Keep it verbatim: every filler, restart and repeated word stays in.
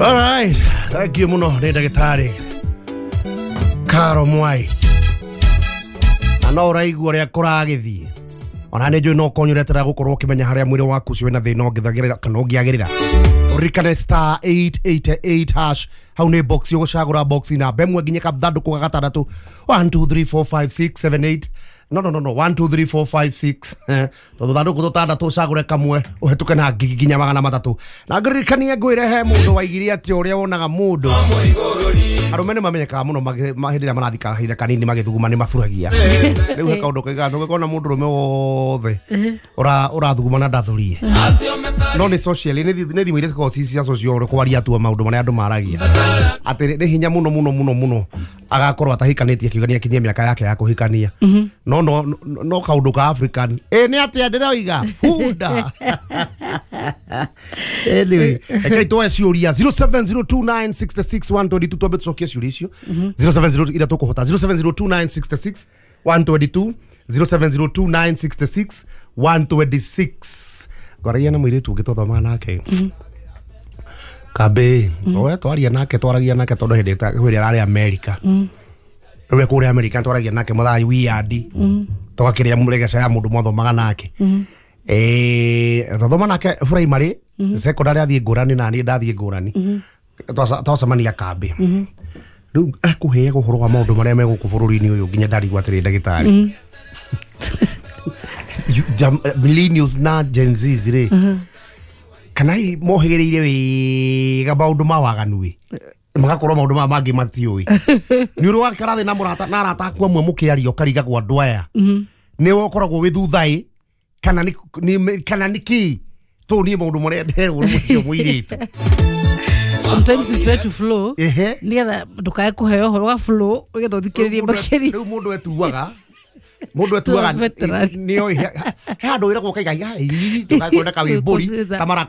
All right, thank you muno nĩ ndagĩtarĩ Karo Mwai. Na no ũraigua ũrĩa kũragĩthiĩ, ona nĩ njũĩ no ũkorwo ũretera gũkorwo ũkĩmenya harĩa mwĩrĩ waku ũcio wĩna thĩna ũngĩthagĩrĩra kana ũngĩagĩrĩra. Ũririkane star eight eight eight hash, hau nĩ box ũgũcagũra, box namba ĩmwe nginya kathandũkũ ga gatandatũ. one two three four five six seven eight, no no no no one two three four five six, tondũ thandũkũ tũtandatũ, ũcagũre kamwe ũhetũke na ngiri nginya magana matatũ. Na ngũririkanie, ngwĩre he mũndũ waigire atĩ ũrĩa wonaga mũndũ, arũme nĩ mamenyekaga mũno magĩ- ma- hĩndĩ ĩrĩa marathiĩ kahinda kanini magĩthuguma nĩ maburagia. Rĩu he kaũndũ kaigaga tũngĩkona mũndũ rũme wothe ũra- ũrathuguma na ndathurie, no nĩ social, nĩ thi- nĩ thimũ iria cikoragwo ci cia social, ũrĩa kwaria tu maũndũ marĩa andũ maragia atĩ nĩ hinya mũno mũno mũno mũno agakorwo atahikanĩtie, akiuga nĩ akinyie mĩaka yake ya kũhikania. no no no- no kaũndũ ka African ĩ nĩ atĩa ndĩroiga bunda. Anyway, rekei tuoe ciũria zero seven zero two nine six six one two two, twambe tũcokie ciũria icio zero seven zero iria tũkũhota, zero seven zero two nine six six one two two, zero seven zero two nine six six one two six. Ngwaragia na mũirĩtu ũngĩ twathomaga nake kambĩ, we twaria nake, twaragia nake tondũ hĩndĩ ĩta- hĩndĩ ĩrĩa ararĩ America, rĩu kũrĩa America twaragia nake mathaa weird, tũgakĩrĩa mũregeca ya mũndũ mwathomaga nake. Eh, twathoma nake primary, secondary athiĩ ngũrani na niĩ ndathiĩ ngũrani. Twaca- twacemania kambĩ, rĩu ekũheaga ũhoro wa maũndũ marĩa me gũkũ bũrũri-inĩ ũyũ nginya ndarigwo atĩrĩ, ndagĩtarĩ, You- jam- millennials na Gen Zs rĩ, kana hihi mohĩgĩrĩire wega maũndũ ma waganu ĩ, magakorwo maũndũ maya mangĩ matiũĩ. Nĩ ũrĩ wakara thĩ na mũrata na arata aku amwe mũkĩaria, ũkarigagwo andũ aya nĩ ũkoragwo wĩ thutha ĩ kana nĩ nĩ- kana nĩ kĩ tũ niĩ maũndũ marĩa nderwo nĩ mũcio mũirĩtu. Sometimes you try to flow Ehe. nigetha ndukae kuheo ũhoro wa flow, nigetha ũthikĩrĩrie makĩria. Rĩu mũndũ etuaga mũndũ etuaga Veteran. nĩoĩ he handũ wĩragwo ũkaiga ndũgakwenda kawĩmbũri Kũcica. ta marakwa.